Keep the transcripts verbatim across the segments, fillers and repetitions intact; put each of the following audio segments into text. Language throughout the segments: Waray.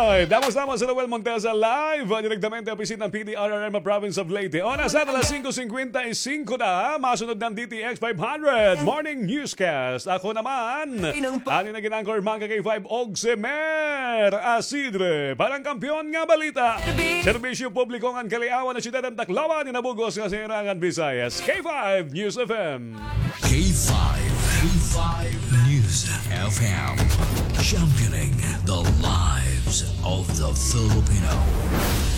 Ay, damos-damos sa Noel Montesa live, ah, direktamente ang opisina ng P D R R M Province of Leyte. Oras na, alas singko singkwenta y singko na, masunod ng D T X five hundred Morning Newscast. Ako naman, ani na gin-anchor, mga ka-K five, og si Mer Asidre. Parang kampiyon nga balita. Serbisyo publiko ngan kaliawan na siyudad ng Tacloban, Inabugos nga Sirangan, Visayas. K five News F M. K five, K five News F M, championing the lives of the Filipino.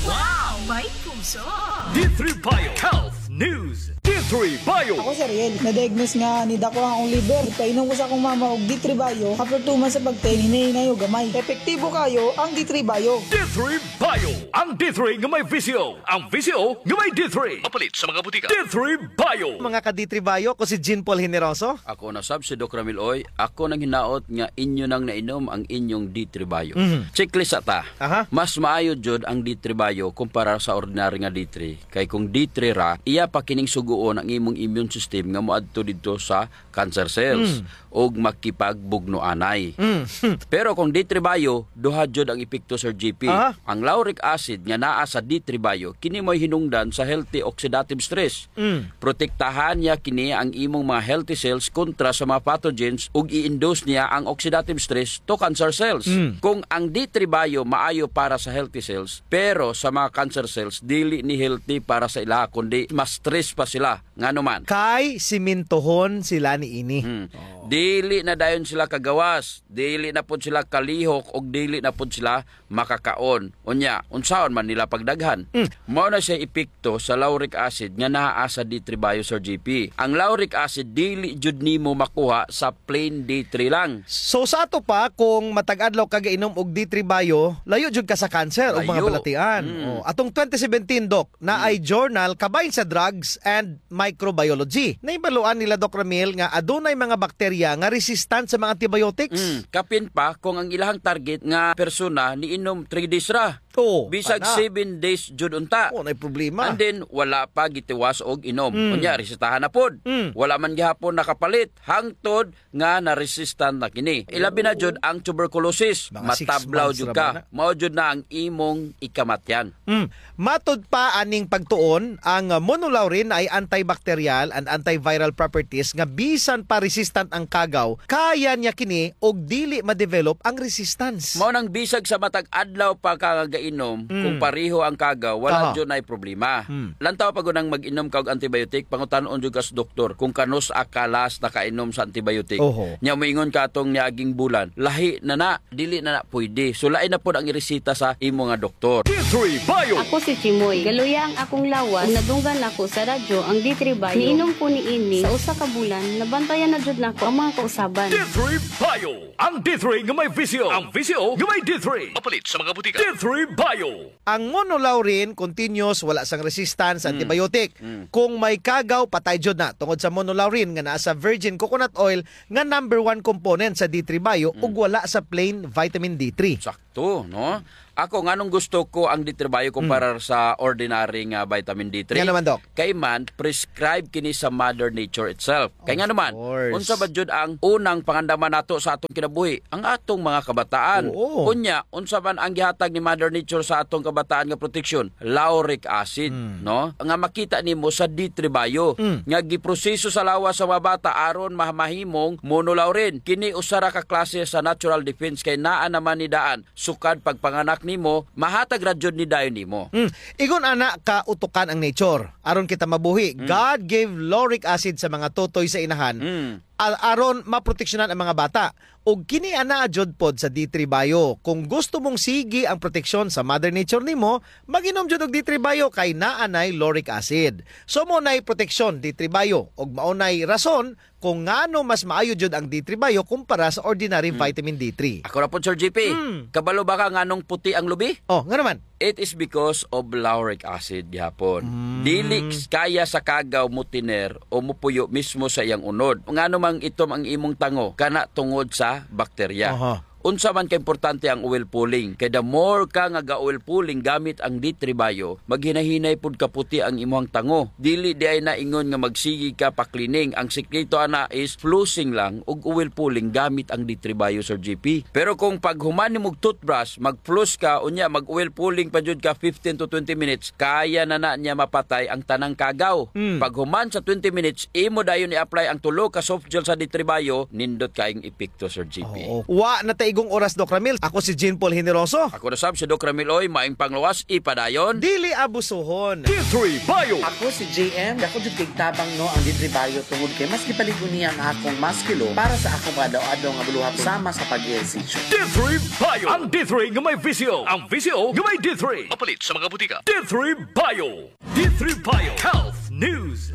Wow! May puso! D three Bio Health News. D three Bio. Ako si Ariel. Na-diagnose nga nidako ang akong liver. Ipainom ko sa akong mama og D three Bio. After two months sa pag-take, hinay-hinay og gamay. Epektibo kayo ang D three Bio. D three Bio. Ang D three nga may V C O. Ang V C O nga may D three. Mapalit sa mga butika. D three Bio. Mga ka-D three Bio, ako si Jean Paul Generoso. Ako na sab si Doc Ramil Oy. Ako nang hinaot nga inyo nang nainom ang inyong D three Bio. Mhm. Checklist ata. Aha. Mas maayo jud ang D three Bio kumpara sa ordinary nga D three. Kay kung D three ra, iya pa kining sugoon ang imong immune system nga moadto didto sa cancer cells Mm. ug makipagbugno anay. Mm. Pero kung D three Bio, duha jud ang epekto, Sir G P. Aha. Ang lauric acid nga naa sa D three Bio, kini mo'y hinungdan sa healthy oxidative stress. Mm. Protektahan niya kini ang imong mga healthy cells kontra sa mga pathogens ug i-induce niya ang oxidative stress to cancer cells. Mm. Kung ang D three Bio maayo para sa healthy cells, pero sa mga cancer cells, dili ni healthy para sa ila, kundi mas stress pa sila. Ngano man? Kay simintohon sila niini. Hmm. Oh. Dili na dayon sila kagawas, dili na pud sila kalihok, ug dili na pud sila makakaon. Unya, unsaon man nila pagdaghan? Mm. Mao na siya epekto sa lauric acid nga naa sa D three Bio, Sir G P. Ang lauric acid dili jud nimo makuha sa plain D three lang. So, sa ato pa, kung matag adlaw ka gainom og D three Bio, layo jud ka sa cancer o mga Layo. balatian. Mm. Oh, atong twenty seventeen, Doc, na Mm. ay journal kabahin sa Drugs and Microbiology. Nahibaluan nila, Doc Ramil, nga adunay mga bakterya nga resistant sa mga antibiotics. Mm, kapin pa kung ang ilahang target nga persona niinom three days ra. Oo, Bisag ana. seven days jud unta. Oo, nay problema. And then, wala pa gitiwas og inom. Mm. Unya, resetahan na pod. Mm. Wala man gihapon nakapalit. Hangtod nga na-resistant na kini. Ilabi na jud ang tuberculosis. Mga six Matablaw months jud ra ka. ba na? Mao jud na ang imong ikamatyan. Mm. Matod pa aning pagtuon, ang monolaurin ay antibacterial and antiviral properties nga bisan pa resistant ang kagaw, kaya niya kini og dili ma-develop ang resistance. Mao nang bisag sa matag adlaw pa ka nga gainom, Mm. kung pareho ang kagaw, wala Aha. jud nay problema. Mm. Lantaw pa gud ang mag-inom ka og antibiotic, pangutan-on jud ka sa doktor kung kanus-a ka last nakainom sa antibiotic. Oho. Nya moingon ka atong niaging bulan, lahi na na, dili na na pwede. So, lain na pod ang iresita sa imo nga doktor. D three Bio. Ako si Chimoy. Galuya ang akong lawas. Ug nadunggan nako sa radyo ang D three Bio. Niinom ko niini sa usa ka bulan, nabantayan na jud nako ang mga kausaban. D three Bio. Ang D three nga may V C O. Ang V C O nga may D three. Mapalit sa mga butika. D three Bio. Ang monolaurin, continuous, wala sang resistance sa Mm. antibiotic. Mm. Kung may kagaw, patay jud na. Tungod sa monolaurin nga naa sa virgin coconut oil nga number one component sa D three Bio Mm. ug wala sa plain vitamin D three. Sakto, no? Ako, nganong gusto ko ang D three Bio kumpara Mm. sa ordinary nga vitamin D three? Nga naman, Doc? Kay man, prescribe kini sa Mother Nature itself. Kay Of nga naman, course. unsa ba jud ang unang pangandaman nato sa atong kinabuhi? Ang atong mga kabataan. Oo. Unya, unsa man ang gihatag ni Mother Nature sa atong kabataan nga proteksyon? Lauric acid, Hmm. no? Nga makita nimo sa D three Bio, Hmm. nga giproseso sa lawas sa mga bata aron ma-, mahimong monolaurin. Kini usa ra ka klase sa natural defense kay naa naman ni daan sukad pagpanganak nimo, mahatag ra jud ni dayon nimo. Hmm. Igon ana ka utukan ang nature. Aron kita mabuhi, Hmm. God gave lauric acid sa mga tutoy sa inahan. Hmm. a-, aron maproteksyonan ang mga bata. Ug kini anaa jud pod sa D three Bio. Kung gusto mong sige ang proteksyon sa Mother Nature nimo, mag-inom jud og D three Bio kay naa nay lauric acid. So, mao nay proteksyon, D three Bio. Ug mao nay rason kung ngano mas maayo jud ang D three Bio kumpara sa ordinary Hmm. vitamin D three. Ako ra pod, Sir G P. Hmm. Kabalo ba ka nganong puti ang lubi? Oh, ngano man? It is because of lauric acid gihapon. Mm. Dili kaya sa kagaw motiner o mopuyo mismo sa iyang unod. Ngano mang itom ang imong tango? Kana tungod sa bakterya. Aha. unsa man ka importante ang oil pulling. Kay the more ka nga ga-oil pulling gamit ang D three Bio, maghinahinay pud kaputi ang imuhang tango. Dili diay na ingon nga magsigi ka pa-cleaning. Ang sikreto ana is flossing lang ug oil pulling gamit ang D three Bio, Sir G P. Pero kung paghuman nimog toothbrush, mag-floss ka, unya mag-oil pulling pa jud ka fifteen to twenty minutes, kaya na na niya mapatay ang tanang kagaw. Mm. Paghuman sa twenty minutes, imo dayon i-apply ang tulo ka soft gel sa D three Bio, nindot kaayong epekto, Sir G P. Oo. Wa na ta igong oras, Doc Ramil. Ako si Jean Paul Generoso. Ako na sab si Doc Ramil Oy, maayong panglawas, ipadayon. Dili abusuhon. D three Bio. Ako si J M. Dako jud kay tabang, no, ang D three Bio tungod kay mas gipaligo niya ang akong musculo para sa akong mga adlaw-adlaw nga buluhaton sama sa pag-ehersisyo. D three Bio. Ang D three nga may V C O. Ang V C O nga may D three. Mapalit sa mga butika. D three Bio. D three Bio Health News.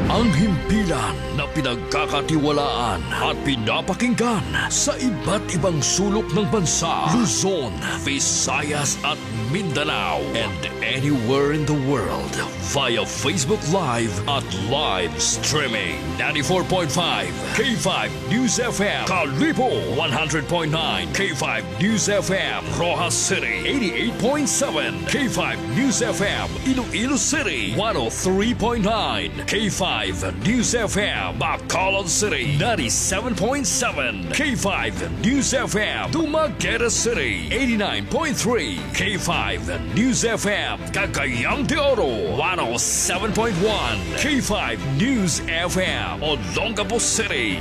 Ang himpilan na pinagkakatiwalaan at pinapakinggan sa iba't ibang sulok ng bansa, Luzon, Visayas at Mindanao, and anywhere in the world via Facebook Live at live streaming. Ninety-four point five K five News F M, Kalibo, one hundred point nine K five News F M, Roxas City, eighty-eight point seven K five News F M, Iloilo City, one oh three point nine K five News F M, Bacolod City, ninety-seven point seven K five News F M, Dumaguete City, eighty-nine point three K five News F M, Cagayan de Oro, one oh seven point one K five News F M, Olongapo City.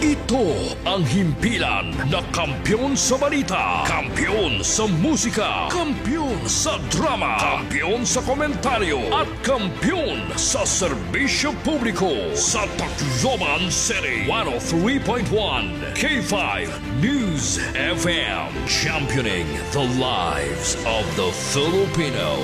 Ito ang himpilan na kampiyon sa balita, kampiyon sa musika, kampiyon sa drama, kampiyon sa komentaryo, at kampiyon sa serbisyo publiko sa Tacloban City. One oh three point one K five News F M, championing the lives of the Filipino.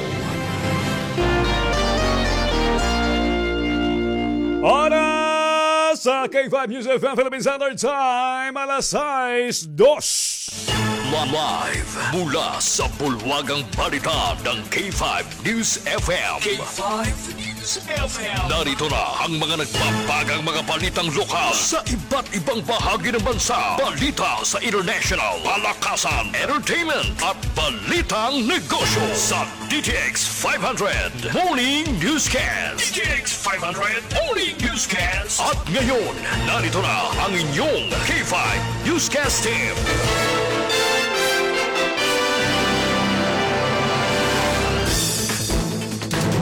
Oras sa K five News F M Philippine Standard Time, alas sais dos. Live mula sa bulwagang balita ng K five News F M. K five News F M. Narito na ang mga nagbabagang mga balitang lokal sa iba't ibang bahagi ng bansa. Balita sa international, palakasan, entertainment, at balitang negosyo sa D T X five hundred Morning Newscast. D T X five hundred Morning Newscast. At ngayon, narito na ang inyong K five Newscast Team.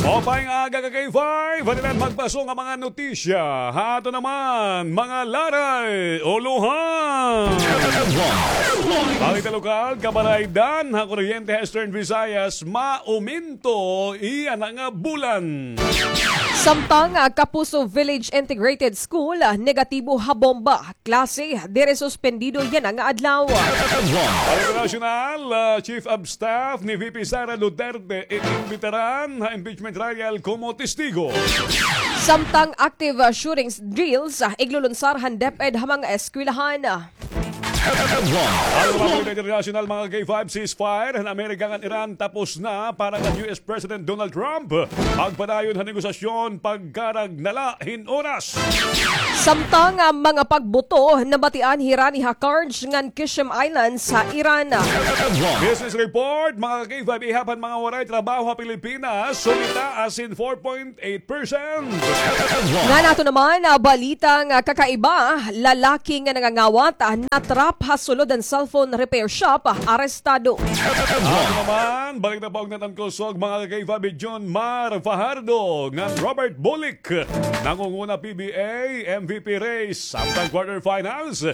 Maupay nga aga ka K five, hatiran magpaso nga mga notisya. Ha ato naman, mga laray, ulohan. Balita lokal, kabaraydan, ha kuryente ha Eastern Visayas, mauminto iya na nga bulan. Samtang, ah, Kapuso Village Integrated School, ah, negatibo ha bomba. Klase, diri suspendido yana nga adlaw. Balita nasyonal, ah, Chief of Staff ni V P Sara Duterte inimbitaran ha impeachment trial komo testigo. Samtang active, ah, shootings drills, ah, iglulunsar han DepEd ha mga eskwelahan. Ang mga balita internasyonal, mga K five, ceasefire han Amerika ngan Iran tapos na para kan U S President Donald Trump magpadayon ha negosasyon pagkarag na la hin oras. Samtang, ah, mga pagbuto nabatian hirani ha Karj ngan Qeshm Islands ha Iran. Business report, mga ka-K five, ihap han mga waray trabaho ha Pilipinas, sumitaas hin four point eight percent. Ngan ato naman, ah, balita nga kakaiba, lalaki nga nangangawat, ah, natrap ha sulod han cellphone repair shop, ah, arestado. Ato naman, balik na pa og natangkosog, mga ka-K five, John Mar Fajardo ngan Robert Bulik. Nangunguna P B A M V P race samtang quarterfinals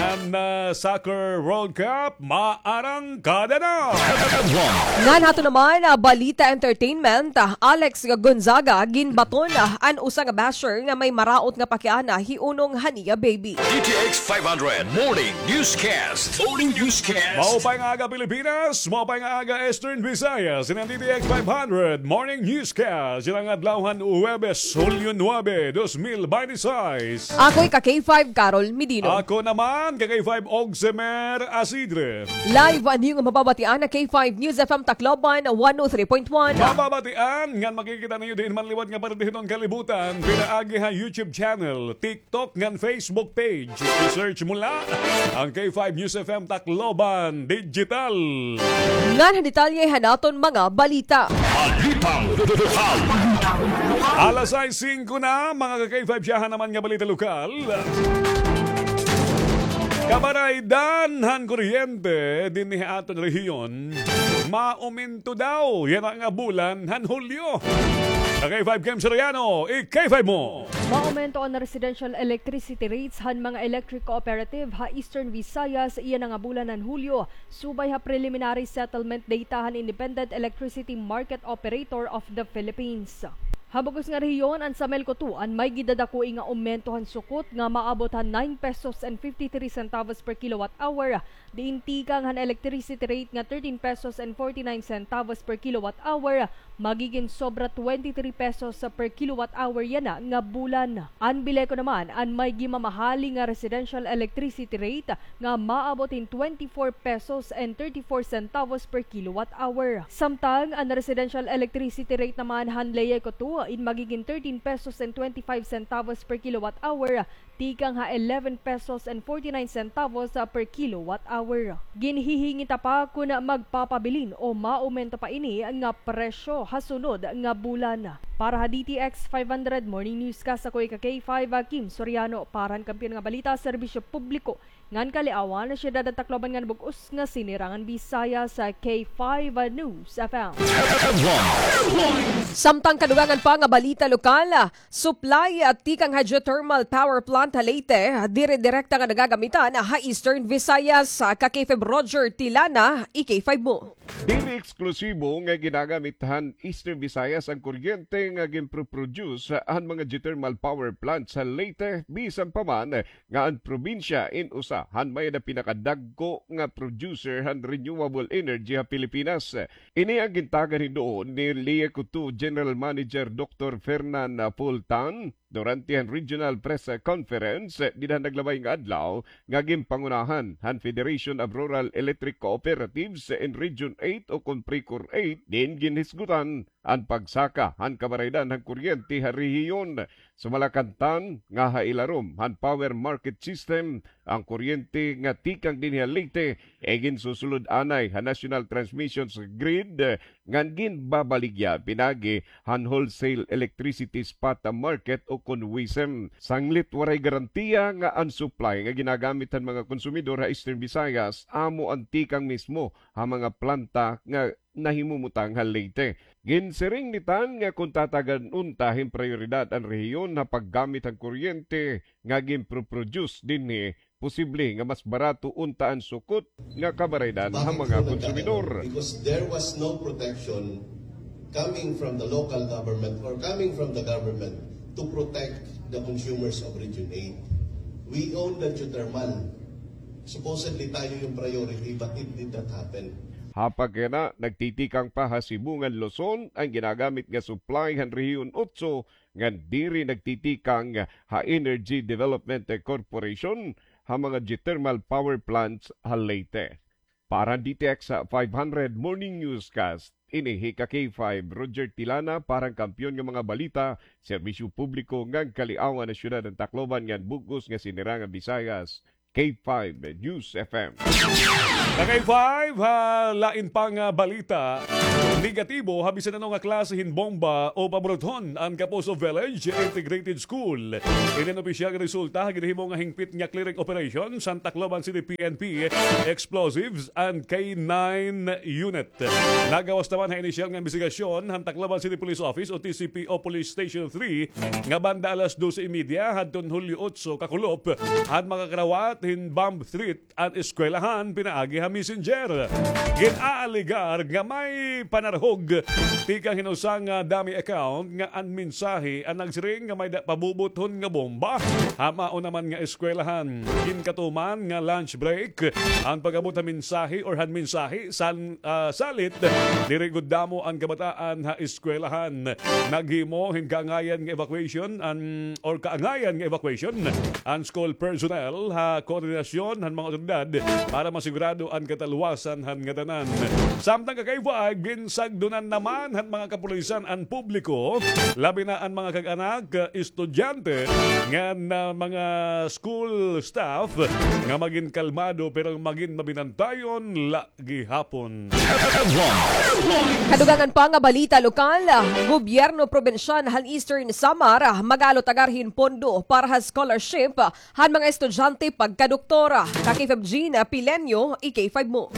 and, uh, Soccer World Cup maarangkada na. Ngan ato naman, ah, balita entertainment, ah, Alex Gonzaga ginbaton, ah, an usa nga basher nga may maraot nga pakiana hiunong han iya baby. D T X five hundred Morning Newscast. Morning Newscast. Maupay nga aga, Pilipinas. Maupay nga aga, Eastern Visayas. Ini an D T X five hundred Morning Newscast. Yana nga adlaw han Huwebes, Hulyo nuebe, dos mil binte y seis. Ako'y ka-K five, Carol Medino. Ako naman, ka-K five, Ogsemer Asidre. Live an iyo nga mababatian ha K five News F M Tacloban, one oh three point one. Mababatian ngan makikita niyo diin man liwat nga parte hiton kalibutan, pinaagi ha YouTube channel, TikTok, ngan Facebook page. I-search mo la ang K five News F M Tacloban Digital. Ngan han detalye han aton mga balita. Balitang lokal. Alas sais singko na, mga ka-K five, siyahan naman nga balita lokal. Kabaraydan han kuryente dinhi ha aton rehiyon, maumento daw yana nga bulan han Hulyo. Ka-K five Kim Soriano, i-K five mo. Maumento an residential electricity rates han mga electric cooperative ha Eastern Visayas yana nga bulan han Hulyo, subay ha preliminary settlement data han Independent Electricity Market Operator of the Philippines. Ha bug-os nga rehiyon, an Samelco two an may gidadakoi nga aumento han sukot nga maabot han nine pesos and fifty-three centavos per kilowatt hour, diin tikang han electricity rate nga thirteen pesos and forty-nine centavos per kilowatt hour, magigin sobra twenty-three pesos per kilowatt hour yana nga bulan. An Bileco naman an may gimamahali nga residential electricity rate nga maabot hin twenty-four pesos and thirty-four centavos per kilowatt hour. Samtang an residential electricity rate naman han Leyeco two in magigin thirteen pesos and twenty-five centavos per kilowatt hour, tikang ha eleven pesos and forty-nine centavos per kilowatt hour. Ginhihingita pa kon magpapabilin o maumento pa ini nga presyo ha sunod nga bulan. Para ha D T X five hundred Morning Newscast, ako ika K five, Kim Soriano, para han Kampiyon nga Balita, Serbisyo Publiko ngan Kaliawan, Syudad han Tacloban ngan bug-os nga Sinirangan Bisaya sa K five News F M. Samtang kadugangan pa nga balita lokal, supply tikang hydrothermal power plant ha Leyte, diri direkta nga nagagamitan ha Eastern Visayas. Ka-K five Roger Tilana, i-K five mo. Dili eksklusibo nga ginagamit han Eastern Visayas an kuryente nga ginproproduce han mga geothermal power plants ha Leyte, bisan pa man nga an probinsya in usa han may-ada pinakadagko nga producer han renewable energy ha Pilipinas. Ini an gintagan hinuon ni Leyeco two General Manager Doktor Fernan Pultan durante han regional press conference dida han naglabay nga adlaw nga ginpangunahan han Federation of Rural Electric Cooperatives in Region eight o kon PRECOR eight, diin ginhisgutan an pagsaka han kabaraydan han kuryente ha rehiyon. Sumala kan TAN nga ha ilarom han power market system, an kuryente nga tikang dinhi ha Leyte iginsusulod anay ha national transmissions grid, eh, ngan ginbabaligya pinaagi han wholesale electricity spot market o kon WESM. Sanglit waray garantiya nga an supply nga ginagamit han mga konsumidor ha Eastern Visayas amo an tikang mismo ha mga planta nga nahimumutang ha Leyte. Ginsiring ni TAN nga kon tatagan unta hin prayoridad an rehiyon ha paggamit han kuryente nga ginproproduce dinhi, posible nga mas barato unta an sukot nga kabaraydan ha mga konsumidor. Because there was no protection coming from the local government or coming from the government to protect the consumers of Region eight. We own the geothermal. Supposedly tayo yung priority, but it did not happen. Ha pagkayana, nagtitikang pa ha Cebu ngan Luzon an ginagamit nga supply han Rehiyon Otso ngan diri nagtitikang ha Energy Development Corporation ha mga geothermal power plants ha Leyte. Para han D T X five hundred Morning Newscast, ini hi ka K five Roger Tilana para han Kampiyon nga mga Balita, Serbisyo Publiko ngan Kaliawan ha Syudad han Tacloban ngan bug-os nga Sinirangan Visayas, K five News F M. Ka K five, ha lain pa nga balita, negatibo ha bisan ano nga klase hin bomba o paburuthon an Kapuso Village Integrated School. Ini an opisyal nga resulta ha ginhimo nga hingpit nga clearing operation han Tacloban City P N P Explosives and K nine Unit. Nagawas naman ha inisyal nga imbestigasyon han Tacloban City Police Office o T C P O Police Station three nga banda alas dose y media hadton Hulyo otso kakulop an makakarawat hin bomb threat an eskwelahan pinaagi ha messenger. Gin-aalegar nga may panarhog tikang hin usa nga dummy account nga an mensahe an nagsiring nga may-ada pabubuthon nga bomba ha mao naman nga eskwelahan. Ginkatuman nga lunch break an pag-abot ha mensahe or han mensahe san, ah, salit diri gud damo an kabataan ha eskwelahan. Naghimo hin kaangayan nga evacuation an, or kaangayan nga evacuation an school personnel ha koordinasyon han mga awtoridad para masigurado an katalwasan han ngatanan. Samtang ka K five, ginsagdonan naman han mga kapulisan an publiko, labi na an mga kag-anak, estudyante, ngan mga school staff nga magin kalmado pero magin mabinantayon la gihapon. Kadugangan pa nga balita lokal, gobyerno probinsyal han Eastern Samar mag-aalutagar hin pondo para ha scholarship han mga estudyante pagkadoktor. Ka K five Jean Pileño, i K five mo.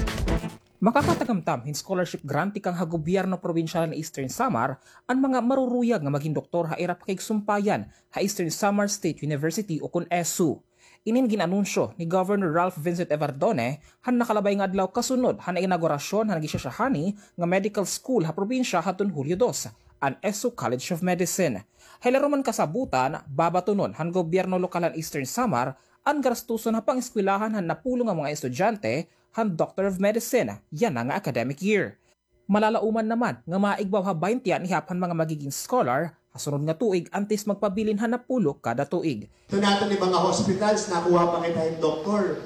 Makakatagamtam hin scholarship grant tikang ha gobyerno probinsyal han Eastern Samar an mga maruruyag nga magin doktor ha ira pakigsumpayan ha Eastern Samar State University ukon ESSU. Inin gin-anunsyo ni Governor Ralph Vincent Evardone han nakalabay nga adlaw kasunod han inaugurasyon han gisasyahani nga medical school ha probinsya hadton Hulyo dos, an ESSU College of Medicine. Ha ila ruman kasabutan, babatonon han gobyerno lokal han Eastern Samar an gastuson ha pang-eskwelahan han napulo nga mga estudyante han Doctor of Medicine yana nga academic year. Malalauman naman nga maigbaw ha baynte an ihap han mga magigin scholar ha sunod nga tuig antes magpabilin han napulo kada tuig. Ito naton iba nga hospitals, nakuha pa kita hin doktor.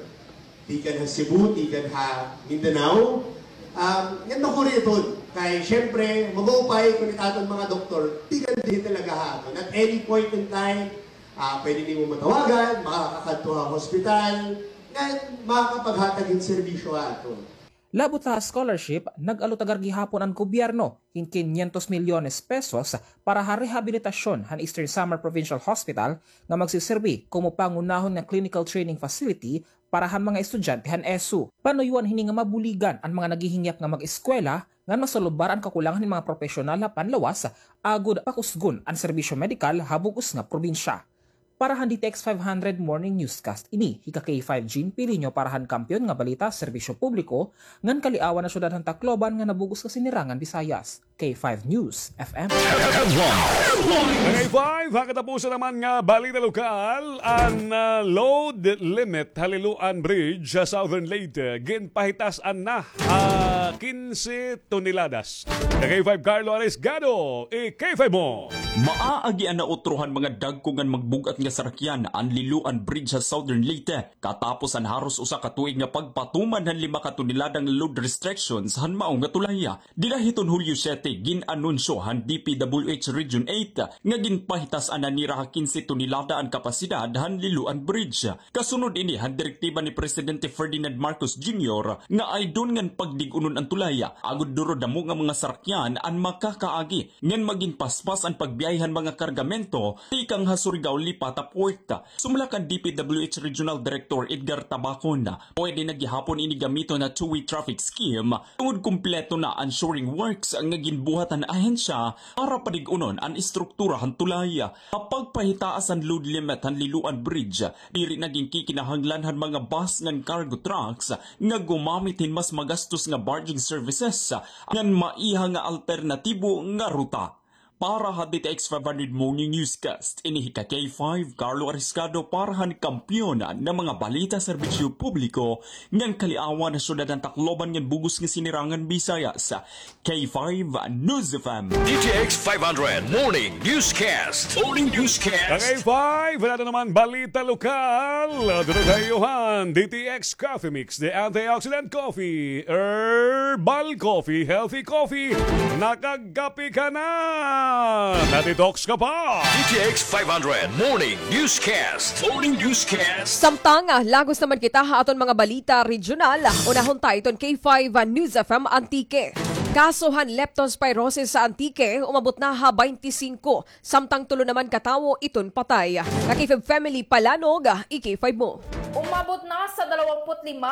Tikan ha Cebu, tikan ha Mindanao. Um, ngan makuri iton. Kay, syempre, mag-uupay kun it aton mga doktor, tikan dinhi talaga ha aton. At any point in time, ah, pwede nimo matawagan, makakadto ha hospital, ngan makakapaghatag hin serbisyo ha aton. Labot ha scholarship, nag-alutagar gihapon an gobyerno hin kinyentos milyones pesos para ha rehabilitasyon han Eastern Samar Provincial Hospital nga magsiserbi komo pangunahon nga clinical training facility para han mga estudyante han ESSU. Panuyuan hini nga mabuligan an mga naghihingyap nga mag-eskwela ngan masolbar an kakulangan hin mga propesyonal ha panlawas agod pakusgon an serbisyo medikal ha bug-os nga probinsya. Para han D T X five hundred Morning Newscast, ini hi ka K five Jean Pileño para han Kampiyon nga Balita, Serbisyo Publiko, ngan Kaliawan ha Syudad han Tacloban ngan ha bug-os nga Sinirangan Visayas. K five News F M. Ka K five, ha katapusan naman nga balita lokal, an, ah, load limit ha Liloan Bridge ha Southern Leyte, ginpahitas-an na, ah, kinse toneladas. Ka K five Carlo Arisgado, i K five mo. Maaagi an nautro han mga dagko ngan magbug-at nga sarakyan an Liloan Bridge ha Southern Leyte, katapos an haros usa ka tuig nga pagpatuman han lima ka tonelada nga load restrictions han mao nga tulay. Dida hiton Hulyo siyete, gin-anunsyo han D P W H Region eight nga ginpahitas-an na nira ha kinse tonelada an kapasidad han Liloan Bridge. Kasunod ini han direktiba ni Presidente Ferdinand Marcos Junior nga aydon ngan pagdig-unon an tulay, agod duro damo nga mga sarakyan an makakaagi ngan magin paspas an pagbiyahe han mga kargamento tikang ha Surigao lipat ha port. Sumala kan D P W H Regional Director Edgar Tabacon, pwede na gihapon ini gamiton ha two-way traffic scheme tungod kumpleto na an shoring works nga ginbuhat han ahensya para padig-unon an istruktura han tulay. Ha pagpahitaas han load limit han Liloan Bridge, diri na ginkikinahanglan han mga bus ngan cargo trucks nga gumamit hin mas magastos nga barging services ngan maiha nga alternatibo nga ruta. Para ha D T X five hundred Morning Newscast, ini hi ka K five, Carlo Ariscado para han Kampiyon nga mga Balita, Serbisyo Publiko, ngan Kaliawan ha Syudad han Tacloban ngan bug-os nga Sinirangan Visayas. K five News F M. D T X five hundred Morning Newscast. Morning Newscast. Ka K five, wala na naman balita lokal. Dito tayo han D T X Coffee Mix, the antioxidant coffee, herbal coffee, healthy coffee. Nakagkape ka na. Na-detox ka pa. D T X five hundred Morning Newscast. Morning Newscast. Samtang, ah, lagos naman kita ha aton mga balita regional, unahon ta iton K five News F M Antique. Kaso han leptospirosis sa Antique, umabot na ha baynte singko, samtang tulo naman ka tawo iton patay. Ka K five Family Palanog, i K five mo. Umabot na sa dalawampu't lima